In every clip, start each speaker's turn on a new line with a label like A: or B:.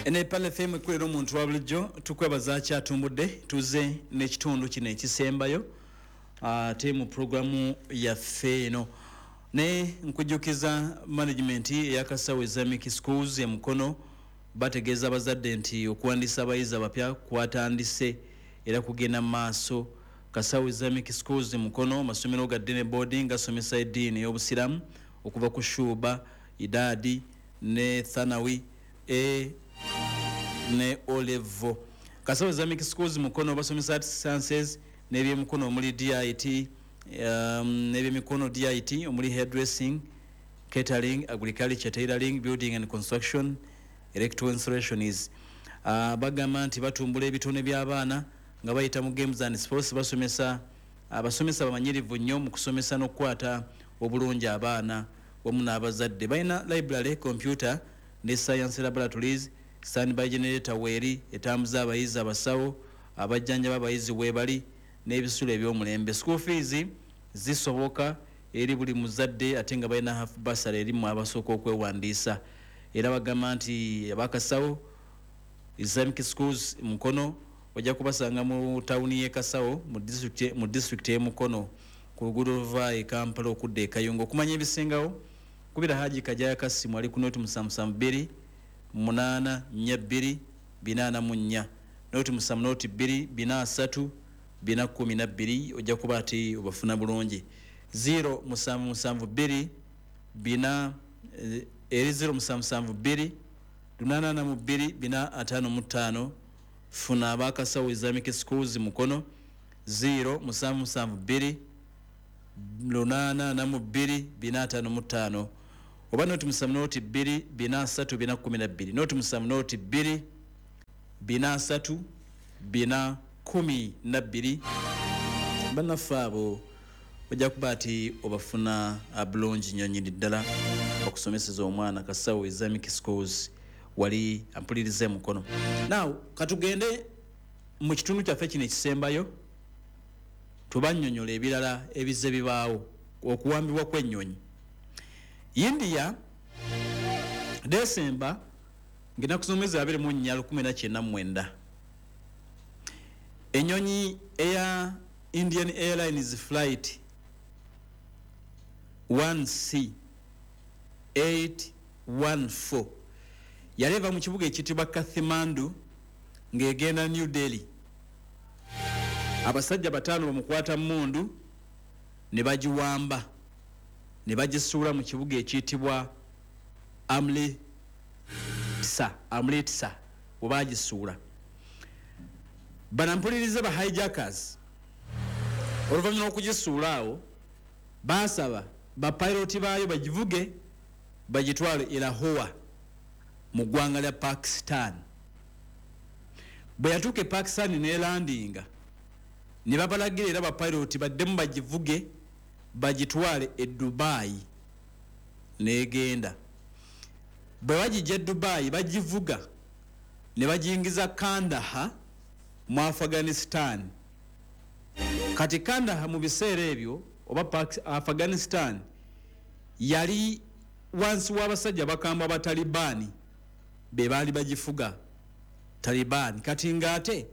A: Ene Pearl FM, ekulera omuntu wa bulijjo. Tukwebaza kyatumbudde. Tuze n'ekitundu kino ekisembayo ate mu puroguramu yaffe eno, naye nkujjukiza management eyakasawo Islamic Schools emukono bategeeza abazadde nti okuwandiisa abayizi abapya kwatandise era kugenda mu maaso. Kasawo Islamic Schools Mukono, masomero ga day ne boarding, gasomesa eddiini ey'obusiramu okuva ku shuba, idaadi ne thanawi, A ne O level. Kasawo Islamic Schools Mukono basomesa arts, sciences n'ebyemukono omuli DIT, n'ebyemikono DIT omuli hairdressing, catering, agriculture, tailoring, building and construction, electrical installations. Bagamba nti batumbula ebitone by'abaana nga bayita mu games and sports. Basomesa abasomesa bamanyirivu nnyo mu kusomesa n'okukwata obulungi abaana wamu n'abazadde. Balina library, computer ne science laboratories. Standby generator weeri etambuza abayizi, abasawo abajjanjaba abayizi weebali, n'ebisulo eby'omulembe. School fees zisoboka eri buli muzadde, ate nga balina half bursary eri mu abasooka okwewandiisa. Era bagamba nti abakasawo Islamic Schools Mukono ojja kubasanga mu tawuni y'e Kasawo mu disitulikiti y'e Mukono, ku luguudo luva e Kampala okudda e Kayunga. Okumanya ebisingawo, kubira Haji Kajaya Kasimu ali ku 0772 842 444, 070 02 4 3 412. Ojja kuba ati obafuna bulungi. 0772 4 eri 0772 842 455. Funa abakasawo Islamic Schools Mukono, 0772 842 455, oba 070 2 4 3 4 12, 070 2 4 3 4 12. Bannaffe abo ojja kuba ati obafuna bulungi nnyo nnyini ddala okusomeseza omwana. Kasawo Islamic Schools wali ampuliriza emukono. Now katugende mu kitundu kyaffe kino ekisembayo, tubannyonnyola ebirala ebizze bibaawo. Okuwambibwa kw'ennyonyi India, Desemba ng'ennaku z'omwezi 24 1999, ennyonyi eya Indian Airlines flight 1C 814 yali eva mu kibuga ekiyitibwa Kathmandu ng'egenda New Delhi. Abasajja bataano bamukwata mundu ne bagiwamba ne bagisuula mu kibuga ekiyitibwa Amritsar. Amritsar we bagisuula. Banampulirize, ba hijackers oluvannyuma lw'okugisuula awo basaba bapiloti baayo bagivuge bagitwale e Lahore mu ggwanga lya Pakistan. Bwe yatuuka e Pakistan nelandinga, ne babalagira era bapiloti baddemu bagivuge bagitwale e Dubai. Negenda, bwe bagijja e Dubai bagivuga ne bagiyingiza Kandahar mu Afghanistan. Kati Kandahar mu biseera ebyo oba Afghanistan yali wansi w'abasajja bakambwe abatalibaani, be baali bagifuga, Talibaani. Kati ng'ate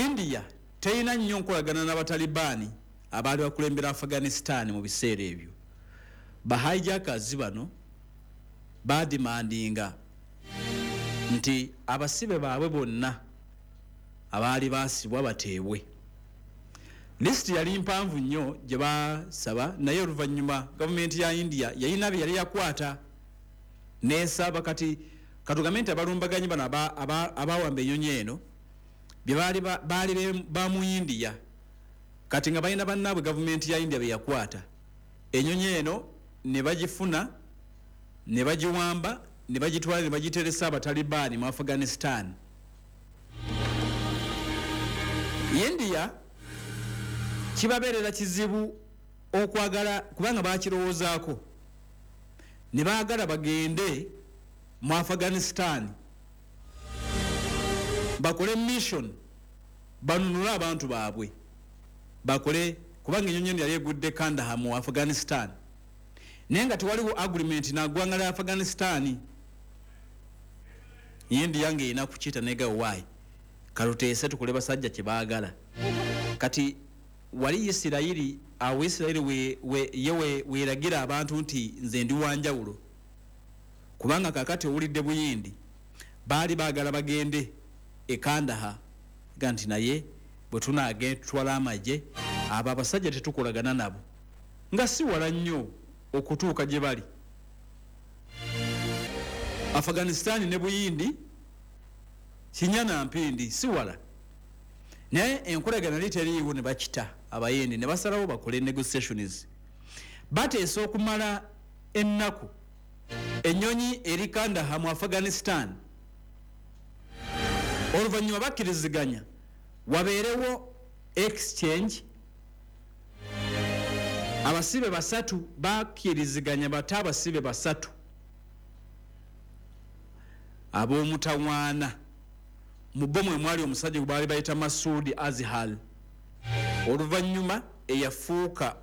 A: India terina nnyo nkolagana n'abatalibaani abaali bakulembera Afghanistan mu biseera ebyo. Bahijackers bano badimandinga nti abasibe baabwe bonna abaali basibwa bateebwe. Lisiti yali mpanvu nnyo gye basaba, naye oluvannyuma gavumenti ya India yalina bye yali yakwata nesaba. Kati katugambe nti abalumbaganyi bano abawamba ennyonyi eno bye baali ba mu India, kati nga balina bannaabwe gavumenti ya India be yakwata. Ennyonyi eno ne bagifuna ne bagiwamba ne bagitwala ne bagiteresa abatalibaani mu Afghanistan. India kibabeerera kizibu okwagala, kubanga bakirowoozaako ne baagala bagende mu Afghanistan bakole mission, banunule abantu baabwe, bakole, kubanga enyonyi eno yali egudde Kandahar mu Afghanistan, naye nga tewaliwo agreement naggwanga lya Afghanistan. India ng'erina kukiyita nega why kaluteese tukole basajja kye baagala. Kati wali Isirayiri, awo Isirayiri ye weeragira abantu nti nze ndi wanjawulo, kubanga kakati owulidde Buyindi baali baagala bagende e Kandahar, ga nti naye bwe tunaagenda tutwala amagye, abo abasajja tetukolagana nabo, nga si wala nnyo okutuuka gye bali. Afghanistan ne Buyindi kinya na mpindi, si wala, naye enkolagana yali teriiwo ne bakita Abayindi ne basalawo bakole negotiations. Bateesa okumala ennaku. Ennyonyi eri Kandahar mu Afghanistan. Oluvannyuma bakkiriziganya wabeerewo exchange, abasibe basatu. Bakkiriziganya bate abasibe basatu ab'omutawaana. Mu bo mwe mwali omusajja gwe baali bayita Masudi Azhar, oluvannyuma eyafuuka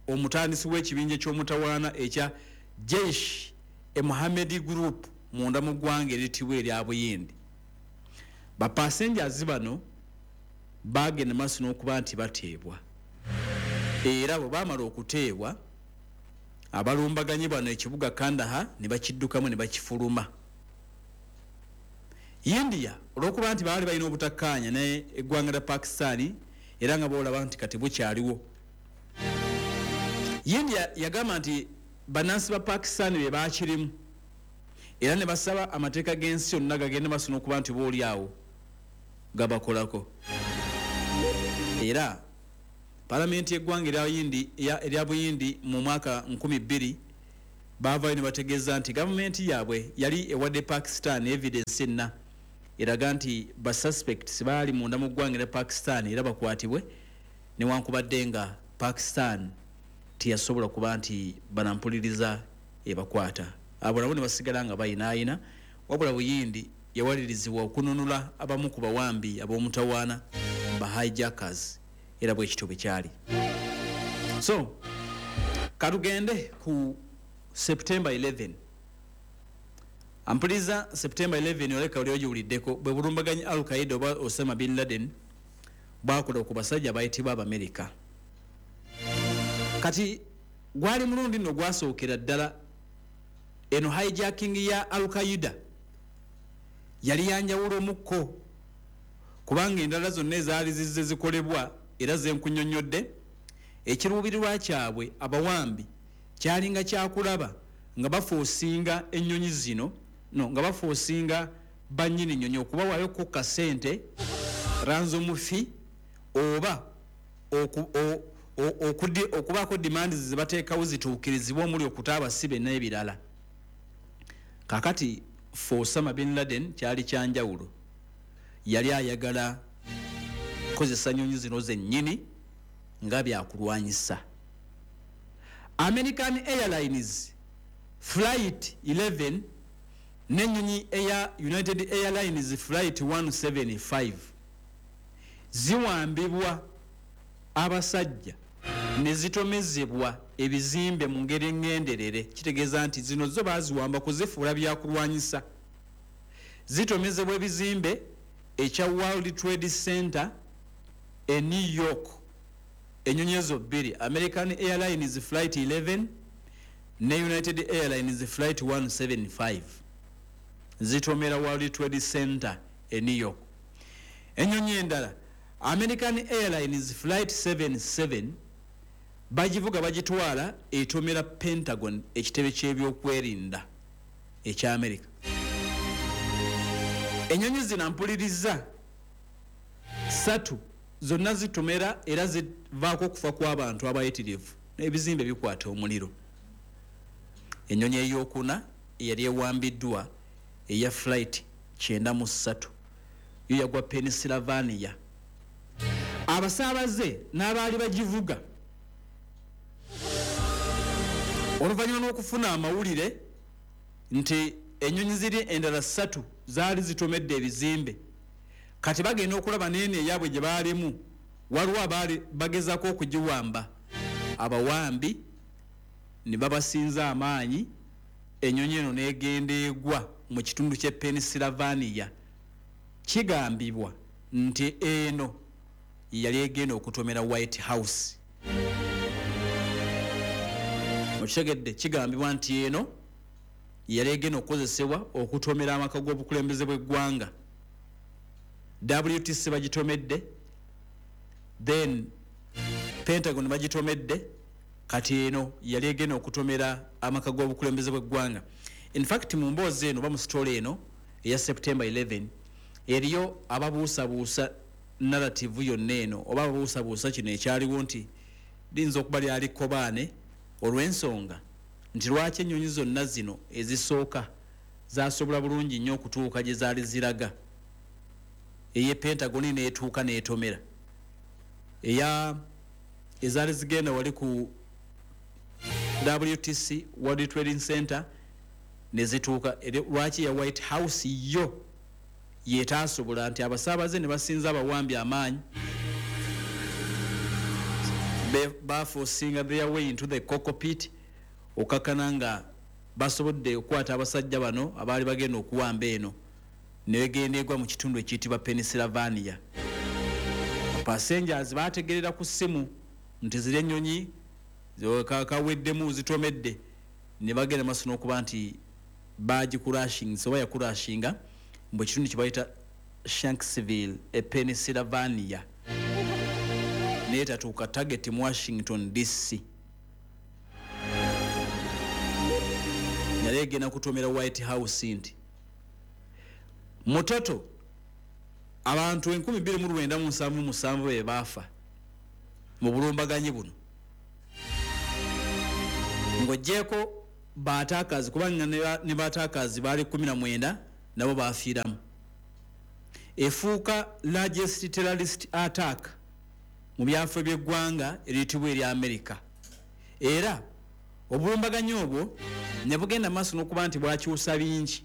A: omutandisi w'ekibinja ky'omutawaana ekya Jaish e Mohammed Group munda mu ggwanga eritibwa erya Buyindi. Bapassengers bano bagenda maaso n'okuba nti bateebwa, era bwe baamala okuteebwa, abalumbaganyi bano ekibuga Kandahar ne bakiddukamu ne bakifuluma. India, olwokuba nti baali balina obutakkaanya ne eggwanga lya Pakistan, era nga boolaba nti kati bukyaliwo, India yagamba nti bannansi ba Pakistan be bakirimu, era ne basaba amateeka g'ensi yonna gagende maaso n'okuba nti booli awo gabakolako. Era palamenti y'eggwanga erya Buyindi mu mwaka 2000 baavayo ne bategeeza nti gavumenti yaabwe yali ewadde Pakistan evidence enna eraga nti basuspects baali munda mu ggwanga erya Pakistan era bakwatibwe, newankubadde nga Pakistan teyasobola kuba nti banampuliriza ebakwata. Abo nabo ne basigala nga bayinaayina, wabula Buyindi yawalirizibwa okununula abamu ku bawambi ab'omutawaana, ba hijackers, era bwe kityo bwe kyali. So katugende ku September 11. Ampuliriza, September 11 oleka oli ogiwuliddeko, bwe bulumbaganyi Al Qaida oba Osama bin Laden bwakola ku basajja abayitibwa Abamerika. Kati gwali mulundi nno gwasookera ddala eno hijacking ya Al Qaida yali yanjawulo mukko, kubanga endala zonna ezaali zizze zikolebwa era zenkunyonnyodde, ekiruubirirwa kyabwe abawambi kyalinga kyakulaba nga baforcinga ennyonyi zino, no nga baforcinga bannyini nnyonyi okubawaayo ku kasente, ransom fee, oba okubaako demands ze bateekawo zituukirizibwa, omuli okuta abasibe n'ebirala. Kakati for Osama bin Laden kyali kyanjawulo, yali ayagala kozesa nyonyi zino zennyini nga byakulwanyisa. American Airlines Flight 11 n'ennyonyi eya United Airlines Flight 175 ziwambibwa abasajja ne zitomezebwa ebizimbe mu ngeri eŋŋenderere. Kitegeeza nti zino zo baaziwamba kuzifuula byakulwanyisa. Zitomezebwa ebizimbe ekya World Trade Center e New York. Ennyonyi ezo bbiri, American Airlines Flight 11 ne United Airlines Flight 175, zitomera World Trade Center e New York. Ennyonyi endala, American Airlines Flight 77, bagivuga bagitwala etomera Pentagon, ekitebe ky'ebyokwerinda ekya America. Ennyonyi zino mpuliriza satu zonna zitomera era zivaako okufa kw'abantu abayitirivu n'ebizimbe bikwata omuliro. Ennyonyi eyokuna eyali ewambiddwa, eya Flight 93, yo yagwa Pennsylvania. Abasaabaze n'abaali bagivuga, oluvannyuma lw'okufuna amawulire nti ennyonyi ziri endala ssatu zaali zitomedde ebizimbe, kati bagenda okulaba neeno eyaabwe gye baalimu waliwo abaali bagezaako okugiwamba, abawambi ne babasinza amaanyi, ennyonyi eno n'egenda egwa. mu kitundu ky'e Pennsylvania. Kigambibwa nti eno yali egenda okutomera White House. Okitegedde? Kigambibwa nti eno yali egenda okukozesebwa okutomera amaka g'obukulembeze bw'eggwanga. WTC bagitomedde, then Pentagon bagitomedde, kati eno yali egenda okutomera amaka g'obukulembeze bw'eggwanga. In fact, mu mboozi eno oba mu story eno eya September 11, eriyo ababuusabuusa narrative yonna eno oba ababuusabuusa kino ekyaliwo nti liyinza okuba lyali kkobaane, olw'ensonga nti lwaki ennyonyi zonna zino ezisooka zasobola bulungi nnyo okutuuka gye zaali ziraga, ey'e Pentagon n'etuuka n'etomera, eya ezaali zigenda wali ku WTC, World Trading Center, ne zituuka, lwaki ya White House yo yetaasobola, nti abasaabaze ne basinza abawambi amaanyi baforcinga their way into the cockpit, okakana nga basobodde okukwata abasajja bano abaali bagenda okuwamba eno, negenda egwa mu kitundu ekiyitibwa Pennsylvania. Passengers bategerera ku ssimu nti ziri ennyonyi kaweddemu zitomedde, ne bagenda maaso n'okuba nti bagicrashing oba yacrashinga mu kitundu kye bayita Shanksville e Pennsylvania, naye tatuuka target mu Washington DC. Yali egenda kutomera White House. Nti mutoto abantu 2977 be baafa mu bulumbaganyi buno, ng'oggyeko baataakazi, kubanga ne baataakazi baali 19, nabo bafiiramu. Efuuka largest terrorist attack mu byafo by'eggwanga eriyitibwa erya America. Era obulumbaganyi obwo ne bugenda maaso n'okuba nti bwakyusa bingi.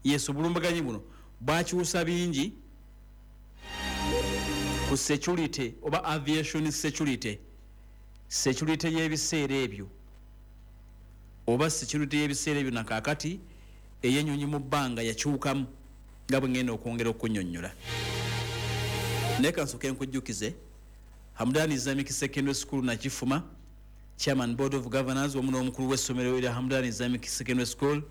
A: Yes, obulumbaganyi buno bwakyusa bingi ku security oba aviation security, security y'ebiseera ebyo oba security y'ebiseera ebyo nakaakati ey'ennyonyi mu bbanga yakyukamu, nga bwe ngenda okwongera okunyonnyola. Naye kansooke nkujjukize Hamdan Islamic Secondary School Nakifuma, chairman, board of governors, wamu n'omukulu w'essomero erya Hamdan Islamic Secondary School.